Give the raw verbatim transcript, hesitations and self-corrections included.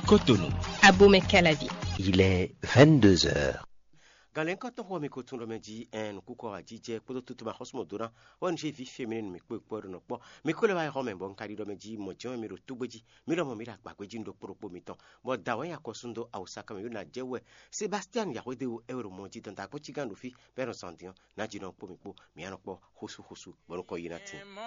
Cotonou. Abomey Calavi. Il est vingt-deux heures. Galɛnkɔtɔn xɔ mi ko tun ɖɔ mɛ jí ɛn nukúkɔ ajijɛ kpódó tutu ma xɔsúmɔ dó ná wɛ nu ví féminin mi kpó kpó ɖo nɔ kpɔ mi kó lɛ wá xɔ mɛ bɔ un ka ɖi ɖɔ mɛ jí mɔ jɛn mi ɖo tógbé jí mi lɔ mɔ mi ɖo agbagbe jí ɖokpó ɖokpó mitɔn bɔ da wɛ ya kɔ sun dó awusa kan mi yó na jɛ wɛ Sebastian Yahweh de wo e ɖo mɔ jí dɔn da kpó cí gán ɖo fí bɛ nɔ sɔn dín na jí nɔ kpó mi kpó mi anɔ kpɔ xósú xósú bɔ nukɔ yi na tin.